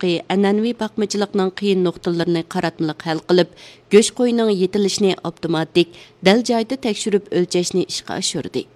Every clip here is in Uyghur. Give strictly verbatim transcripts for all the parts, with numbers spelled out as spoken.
ئەنئەنىۋى باقمىچىلىقنىڭ قىيىن نۇقتىلىرىنى قاراتمىلىق ھەل قىلىپ، گۆش قويىنىڭ يېتىلىشىنى ئاپتوماتىك، دەل جايىدا تەكشۈرۈپ ئۆلچەشنى ئىشقا ئاشۇردى.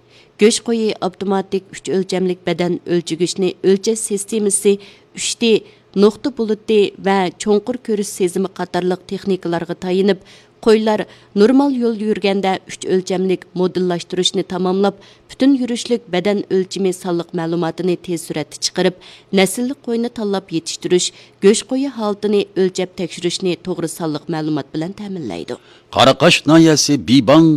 گۆش قويى ئاپتوماتىك ئۈچ ئۆلچەملىك بەدەن ئۆلچىگۈچنى ئۆلچەش سىستېمىسى ئۈچ دى، نۇقتا بۇلۇتى ۋە چوڭقۇر كۆرۈش سېزىمى قاتارلىق تېخنىكىلارغا تايىنىپ، قويلار نورمال يول يۈرگەندە ئۈچ ئۆلچەملىك مودېللاشتۇرۇشنى تاماملاپ، پۈتۈن يۈرۈشلۈك بەدەن ئۆلچىمى سانلىق مەلۇماتىنى تېز سۈرئەتتە چىقىرىپ، نەسىللىك قوينى تاللاپ يېتىشتۈرۈش، گۆش قويى ھالىتىنى ئۆلچەپ تەكشۈرۈشنى توغرا سانلىق مەلۇمات بىلەن تەمىنلەيدۇ. قاراقاش ناھىيەسى بىباڭ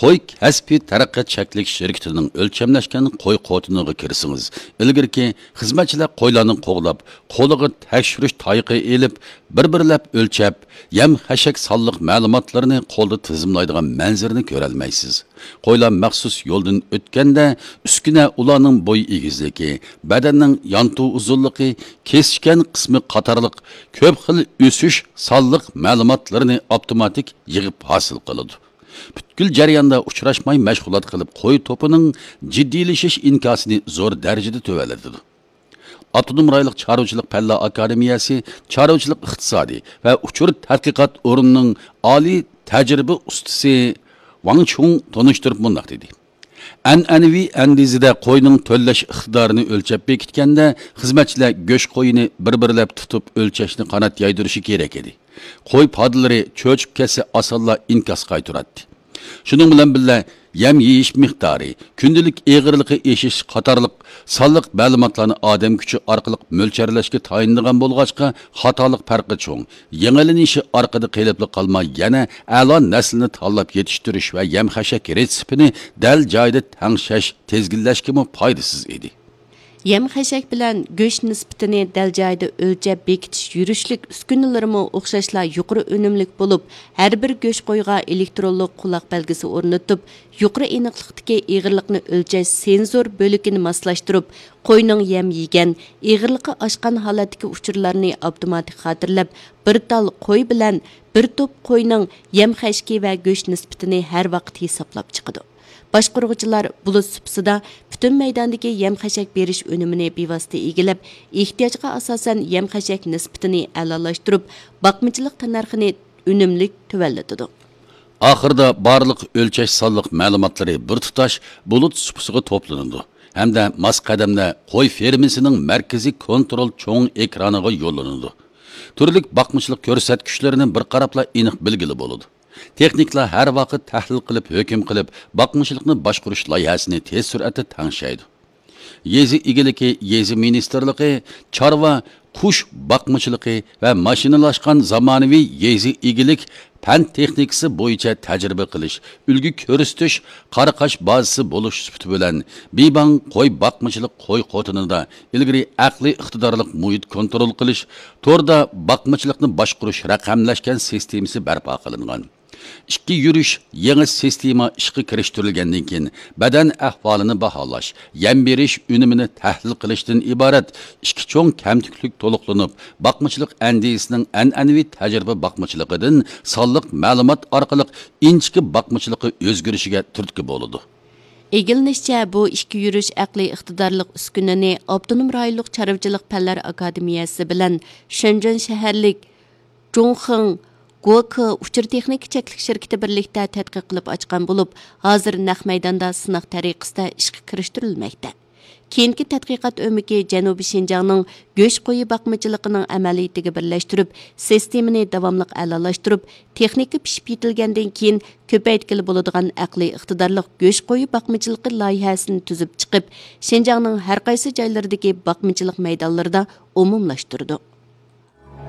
قوي كەسپىي تەرەققىيات چەكلىك شىركىتىنىڭ ئۆلچەملەشكەن قوي قوتىنىغا كىرسىڭىز، ئىلگىرىكى خىزمەتچىلەر قويلارنى قوغلاپ، قولىغا تەكشۈرۈش تايىقى ئېلىپ، بىر-بىرلەپ ئۆلچەپ، يەم-خەشەك سانلىق مەلۇماتلىرىنى قولدا تىزىملايدىغان مەنزىرىنى كۆرەلمەيسىز. قويلار مەخسۇس يولدىن ئۆتكەندە، ئۈسكۈنە ئۇلارنىڭ بوي ئېگىزلىكى، بەدەننىڭ يانتۇ ئۇزۇنلۇقى، كېسىشكەن قىسمى قاتارلىق كۆپ خىل ئۆسۈش سانلىق مەلۇماتلىرىنى ئاپتوماتىك يىغىپ ھاسىل قىلىدۇ. پۈتكۈل جەرياندا ئۇچراشماي مەشغۇلات قىلىپ، قوي توپىنىڭ جىددىيلىشىش ئىنكاسىنى زور دەرىجىدە تۆۋەنلىتىدۇ. ئاپتونوم رايونلۇق چارۋىچىلىق پەنلەر ئاكادېمىيەسى چارۋىچىلىق ئىقتىسادى ۋە ئۇچۇر تەتقىقات ئورنىنىڭ ئالىي تەجرىبە ئۇستىسى ۋاڭ چۇڭ تونۇشتۇرۇپ مۇنداق دېدى: ئەنئەنىۋى ئەندىزىدە قوينىڭ تۆلەش ئىقتىدارىنى ئۆلچەپ بېكىتكەندە، خىزمەتچىلەر گۆش قويىنى بىر-بىرلەپ تۇتۇپ ئۆلچەشنى قانات يايدۇرۇشى كېرەك ئىدى. قوي پادىلىرى چۆچۈپ كەتسە، ئاسانلا ئىنكاس قايتۇراتتى. شۇنىڭ بىلەن بىللە، يەم يېيىش مىقدارى، كۈندىلىك ئېغىرلىقى ئېشىش قاتارلىق سانلىق مەلۇماتلارنى ئادەم كۈچى ئارقىلىق مۆلچەرلەشكە تايىنىدىغان بولغاچقا، خاتالىق پەرقى چوڭ، يېڭىلىنىشى ئارقىدا قېلىپلا قالماي، يەنە ئەلا نەسلىنى تاللاپ يېتىشتۈرۈش ۋە يەم-خەشەك رېتسېپىنى دەل جايىدا تەڭشەش، تىزگىنلەشكىمۇ پايدىسىز ئىدى. يەم-خەشەك بىلەن گۆش نىسبىتىنى دەل جايىدا ئۆلچەپ بېكىتىش يۈرۈشلۈك ئۈسكۈنىلىرىمۇ ئوخشاشلا يۇقىرى ئۈنۈملۈك بولۇپ، ھەر بىر گۆش قويغا ئېلېكترونلۇق قۇلاق بەلگىسى ئورنىتىپ، يۇقىرى ئېنىقلىقتىكى ئېغىرلىقنى ئۆلچەش سېنزور بۆلىكىنى ماسلاشتۇرۇپ، قوينىڭ يەم يېگەن، ئېغىرلىقى ئاشقان ھالەتتىكى ئۇچۇرلارنى ئاپتوماتىك خاتىرىلەپ، بىر تال قوي بىلەن بىر توپ قوينىڭ يەم-خەشىكى ۋە گۆش نىسبىتىنى ھەر ۋاقىت ھېسابلاپ چىقىدۇ. باشقۇرغۇچىلار بۇلۇت سۇپىسىدا پۈتۈن مەيداندىكى يەم-خەشەك بېرىش ئۈنۈمىنى بىۋاسىتە ئىگىلەپ، ئېھتىياجغا ئاساسەن يەم-خەشەك نىسبىتىنى ئەلالاشتۇرۇپ، باقمىچىلىق تەننەرخىنى ئۈنۈملۈك تۆۋەنلىتىدۇ. ئاخىرىدا بارلىق ئۆلچەش سانلىق مەلۇماتلىرى بىر تۇتاش بۇلۇت سۇپىسىغا توپلىنىدۇ ھەمدە ماس قەدەمدە قوي فېرمىسىنىڭ مەركىزىي كونترول چوڭ ئېكرانىغا يوللىنىدۇ. تۈرلۈك باقمىچىلىق كۆرسەتكۈچلىرىنى بىر قاراپلا ئېنىق بىلگىلى بولىدۇ. تېخنىكلار ھەر ۋاقىت تەھلىل قىلىپ، ھۆكۈم قىلىپ، باقمىچىلىقنى باشقۇرۇش لايىھەسىنى تېز سۈرئەتتە تەڭشەيدۇ. يېزا ئىگىلىكى، يېزا مىنىستىرلىقى، چارۋا، قۇش باقمىچىلىقى ۋە ماشىنىلاشقان زامانىۋى يېزا ئىگىلىك پەن تېخنىكىسى بويىچە تەجرىبە قىلىش، ئۈلگە كۆرسىتىش، قاراقاش بازىسى بولۇش سۈپىتى بىلەن، بىباڭ قوي باقمىچىلىق قوي قوتىنىدا ئىلگىرى ئەقلىي ئىقتىدارلىق مۇھىت كونترول قىلىش، توردا باقمىچىلىقنى باشقۇرۇش رەقەملەشكەن سىستېمىسى بەرپا قىلىنغان. ئىككى يۈرۈش يېڭى سىستېما ئىشقا كىرىشتۈرۈلگەندىن كېيىن، بەدەن ئەھۋالىنى باھالاش، يەم بېرىش ئۈنۈمىنى تەھلىل قىلىشتىن ئىبارەت ئىككى چوڭ كەمتۈكلۈك تولۇقلىنىپ، باقمىچىلىق ئەندىزىسىنىڭ ئەنئەنىۋى تەجرىبە باقمىچىلىقىدىن سانلىق مەلۇمات ئارقىلىق ئىنچىكە باقمىچىلىققا ئۆزگىرىشىگە تۈرتكە بولىدۇ. ئىگىلىنىشىچە، بۇ ئىككى يۈرۈش ئەقلىي ئىقتىدارلىق ئۈسكۈنىنى ئاپتونوم رايونلۇق چارۋىچىلىق پەنلەر ئاكادېمىيەسى بىلەن شېنجېن شەھەرلىك جۇڭخېڭ گوكې ئۇچۇر تېخنىكا چەكلىك شىركىتى بىرلىكتە تەتقىق قىلىپ ئاچقان بولۇپ، ھازىر نەق مەيداندا سىناق تەرىقىسىدە ئىشقا كىرىشتۈرۈلمەكتە. كېيىنكى تەتقىقات ئۆمىكى جەنۇبىي شىنجاڭنىڭ گۆش قويى باقمىچىلىقىنىڭ ئەمەلىيىتىگە بىرلەشتۈرۈپ، سىستېمىنى داۋاملىق ئەلالاشتۇرۇپ، تېخنىكا پىشىپ يېتىلگەندىن كېيىن كۆپەيتكىلى بولىدىغان ئەقلىي ئىقتىدارلىق گۆش قويى باقمىچىلىقى لايىھەسىنى تۈزۈپ چىقىپ، شىنجاڭنىڭ ھەر قايسى جايلىرىدىكى باقمىچىلىق مەيدانلىرىدا ئومۇملاشتۇرىدۇ.